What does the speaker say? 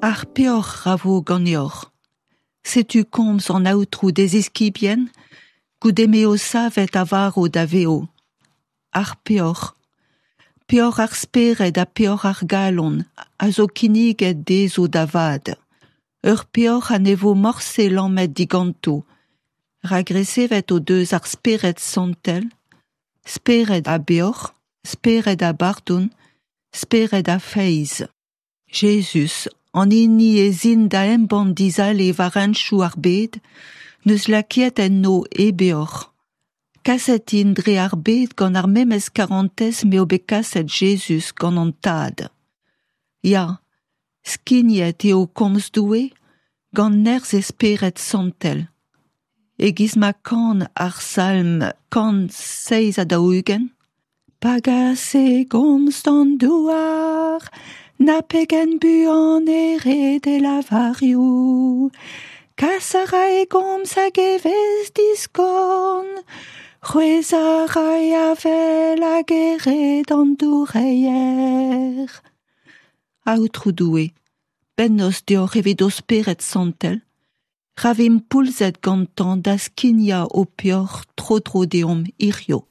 Ar peoc'h ra vo ganeoc'h. Setu komz an Aotrou d'e ziskibien goude m'eo savet a varv da vev. Ar peoc'h, peoc'h ar spered ha peoc'h ar galon a zo kinniget dezho da vat. Ur peoc'h ha ne vo morse lamet diganto, rak resevet o deus ar Spered Santel, spered a beoc'h, spered a bardon, spered a feiz. Jezuz, an hini ez int da embann dizale war hentoù ar bed, 'neus lakaet enno e beoc'h. Kaset int dre ar bed gant ar memes karantez m'eo bet kaset Jezuz gant an Tad. Ya, skignet eo komz Doue gant nerzh e Spered Santel. E-giz ma kan ar salm 147, Pa gas e gomz d'an douar, na pegen buan e red e lavarioù. Kas a ra e gomz hag e vez diskorn, c'hwezhañ a ra e avel hag e red an doureier. Aotrou Doue, bennozh deoc'h evit ho Spered Santel, ra vimp poulzet gantañ da skignañ ho peoc'h tro-dro deomp hiziv.